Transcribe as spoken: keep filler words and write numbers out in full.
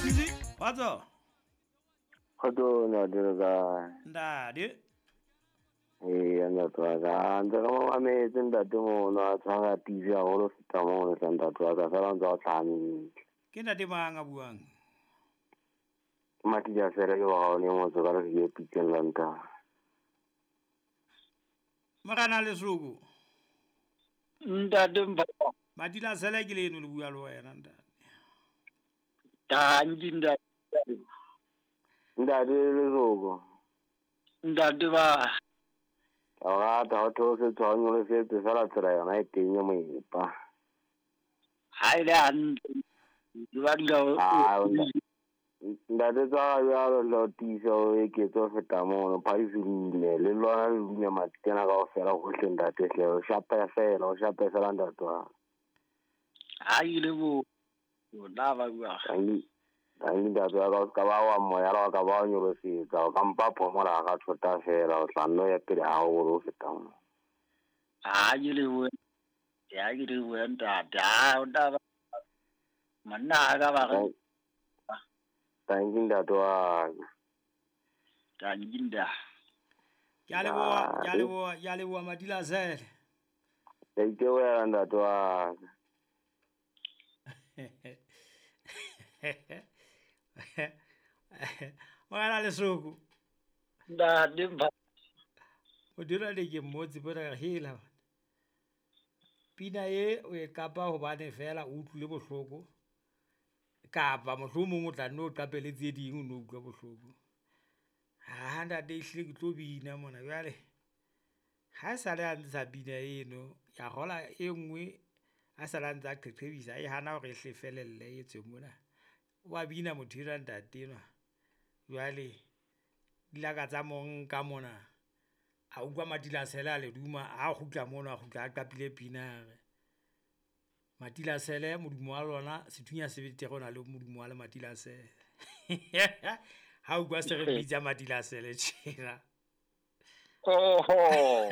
Kgotso. Kgotso ntate le kae? Ntate. Ee, ntate wa ka. Ntse re mo mametse ntate mono a tshwara T V haholo ho feta mono hle ntate wa ka, fela ntse a tlhaha. Ke ntate mang a buang? Ke Matija Sele ke wa gaone motse ka re ke Pitseng la ntate. Morena Lesoko. Ntate Mpho. Matila Sele ke leno le bua le wena ntate. Tanki ntate. Ntate Lesoko. Ntate ba. Ka o rata ho theose tshwanyo le setse fela tsela yona e teng ya moepa. Ha e le hantle. Ke ba dula o. Ntate tsa jwalo le ho tiisa o eketse ho feta mono phadiso le le lona le dunya matsena kaofela hohle ntate hle o shape fela o shape fela ntate wa. Ha ile bo o la ba bua. Tangi tangi ntate wa ka ka ba wa moya la ka ba o nyolosetsa o ka mpa phomola ga thota fela o tla nno ya pele haholo ho feta mono. Ha ile bo ya ke le bo ntate ha o tla ba monna ka ba re. Thank you, ntate wa ka. Thank you, ntate. Ke a leboha, ke a leboha, ke a leboha Matila Sele. Ke itebohela ntate wa ka. Morena Lesoko. Ntate Mpho. O dira le ke mmotse bona hela. Pina e o e kapa hobane fela o utlwile bohloko. Kapa mohlomong o tla nno o qapele tse ding o no utlwa bohloko. Ha ntate ehlile ke tlo bina mona jwale. Ha sale a ntsha bina eno, ya hola e nngwe a sale a ntsa qeqebisa e hana hore e hle felelle e tswe mona. Wa bina motho enwa ntate enwa. Jwale dilaka tsa mo nka mona. A utlwa Matila Sele a le duma, a kgutla mono a kgutla a qapile pina re. Matila Sele modumo wa lona sethunya se betere o na le modumo wa le Matila Sele. Ha utlwa se re bitsa Matila Sele tjena. Oho.